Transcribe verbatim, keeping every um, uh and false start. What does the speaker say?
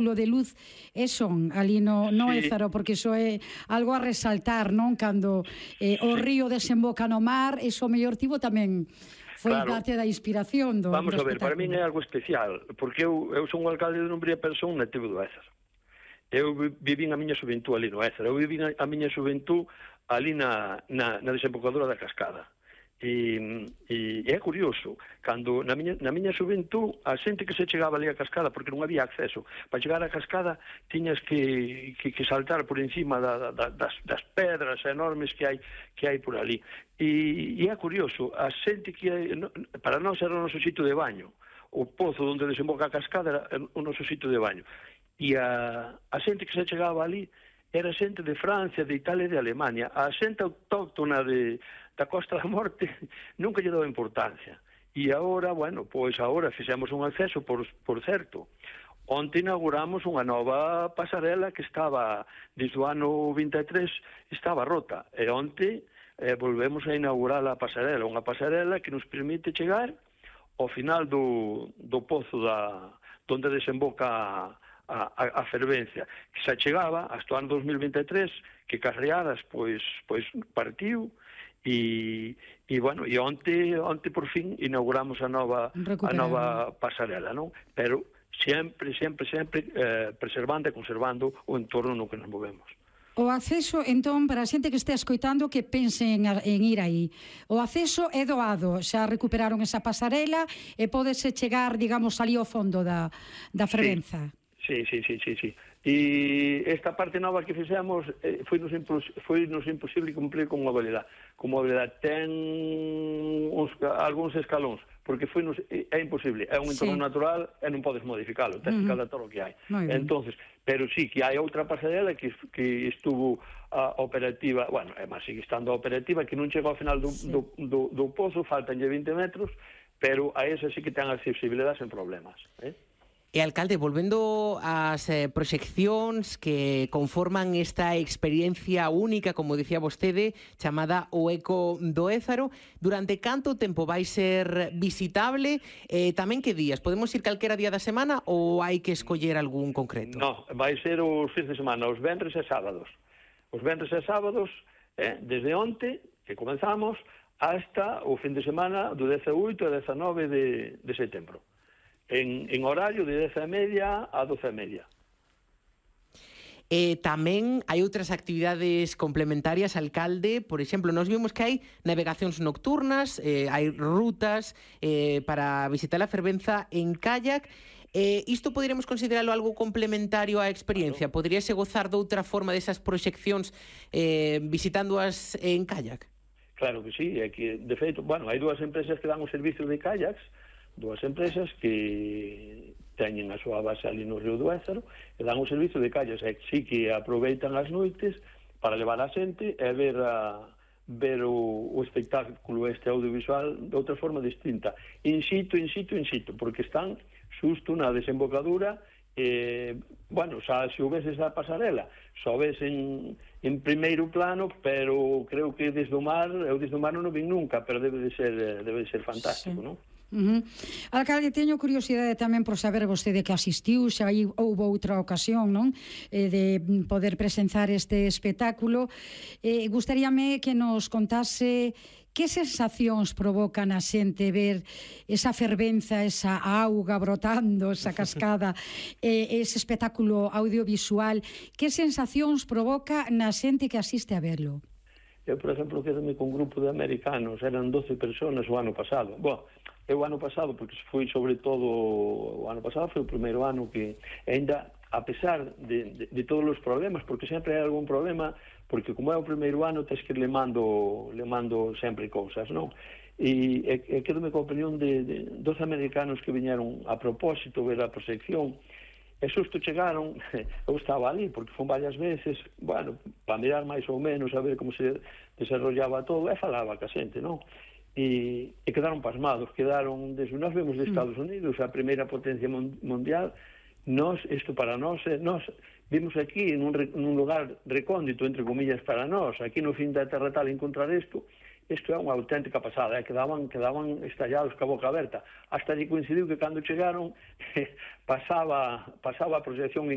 de luz e son ali no, no Sí. Ézaro, porque iso é algo a resaltar, non? Cando eh, o Sí. río desemboca no mar, iso mellor tivo tamén foi Claro. parte da inspiración do, Vamos do a ver, para min é espectáculo. algo especial, porque eu, eu son o alcalde de Dumbría, pero son nativo do Ézaro. Eu vivín a miña xuventud ali no Ézaro, eu vivín a miña xuventud ali na, na, na desembocadura da cascada. E, e, e é curioso, cando na miña, na miña xuventud a xente que se chegaba ali a cascada, porque non había acceso, para chegar á cascada tiñas que, que, que saltar por encima da, da, das, das pedras enormes que hai que hai por ali. E, e é curioso, a xente que hai, para nós era o noso sitio de baño, o pozo onde desemboca a cascada era o noso sitio de baño. E a, a xente que se chegaba ali era xente de Francia, de Italia e de Alemania. A xente autóctona de, da Costa da Morte nunca lle daba importancia. E agora, bueno, pois agora fixemos un acceso, por, por certo. Onte inauguramos unha nova pasarela que estaba, desde o ano vinte e tres, estaba rota. E onte eh, volvemos a inaugurar a pasarela, unha pasarela que nos permite chegar ao final do, do pozo da, donde desemboca a, a, a fervencia, que se chegaba hasta o ano dos mil vinte e tres, que Carreadas pois pois partiu e e bueno, e onte onte por fin inauguramos a nova a nova pasarela, non? Pero sempre, sempre, sempre eh, preservando e conservando o entorno no que nos movemos. O acceso, entón, para a xente que este escoitando que pense en, en ir aí, o acceso é doado, xa recuperaron esa pasarela e pódese chegar, digamos, ali ao fondo da, da fervenza. Sí, sí, sí, sí, sí. E esta parte nova que fixemos eh, foi, nos foi nos imposible cumplir con mobilidade. Con mobilidade ten uns, algúns escalóns, porque foi nos, é imposible, é un entorno sí. natural e non podes modificalo, tens que adaptar o que hai. Entonces, pero sí que hai outra pasarela que, que estuvo uh, operativa, bueno, é máis, sigue estando operativa, que non chegou ao final do, sí. do, do, do pozo, faltanlle vinte metros, pero a esa sí que ten accesibilidade sen problemas, eh? E, alcalde, volvendo ás eh, proxeccións que conforman esta experiencia única, como dicía vostede, chamada O Eco do Ézaro, durante canto tempo vai ser visitable? Eh, tamén que días? Podemos ir calquera día da semana ou hai que escoller algún concreto? No, vai ser os fins de semana, os venres e sábados. Os venres e sábados, eh, desde onte, que comenzamos, hasta o fin de semana do dezaoito e dezanove de, de setembro. En, en horario de dez e media a doce e media. Eh, tamén hai outras actividades complementarias, alcalde. Por exemplo, nos vimos que hai navegacións nocturnas, eh, hai rutas eh, para visitar a fervenza en kayak. Eh, isto poderíamos considerarlo algo complementario á experiencia? Claro. Poderíase gozar de outra forma desas proxeccións eh, visitándoas en kayak? Claro que sí, é que, de feito, bueno, hai dúas empresas que dan o servicio de kayaks, dúas empresas que teñen a súa base ali no Río do Ézaro e dan o servicio de calles, e sí que aproveitan as noites para levar a xente e ver a, ver o, o espectáculo este audiovisual de outra forma distinta, in situ, in situ, in situ, porque están xusto na desembocadura. Eh, bueno, xa se o ves esa pasarela só ves en, en primeiro plano, pero creo que desde o mar, eu desde o mar non o vin nunca, pero debe de ser, debe de ser fantástico, sí. Non? Uh -huh. Alcalde, teño curiosidade tamén por saber vostede que asistiu, xa aí houve outra ocasión, non? Eh, de poder presenciar este espectáculo. Eh, gustaríame que nos contase que sensacións provoca na xente ver esa fervenza, esa auga brotando, esa cascada, eh, ese espectáculo audiovisual. Que sensacións provoca na xente que asiste a verlo? Eu, por exemplo, quedame con un grupo de americanos, eran doce personas o ano pasado. Bom, eu o ano pasado, porque foi sobre todo o ano pasado, foi o primeiro ano que ainda, a pesar de, de, de todos os problemas, porque sempre hai algún problema, porque como é o primeiro ano, tens que ir lemando, lemando sempre cousas, non? E, e, e quedome con a opinión de, de doce americanos que viñeron a propósito ver a proxección. E xusto chegaron, eu estaba ali, porque fun varias veces, bueno, para mirar máis ou menos, a ver como se desarrollaba todo, e falaba ca xente, non? E, e quedaron pasmados, quedaron, desde nós vemos de Estados Unidos, a primeira potencia mundial, nós, isto para nós, nós vimos aquí, nun, nun lugar recóndito, entre comillas, para nós, aquí no fin da terra tal, encontrar isto, isto é unha auténtica pasada, eh? quedaban, quedaban estallados ca boca aberta. Hasta lle coincidiu que cando chegaron pasaba, pasaba a proxección en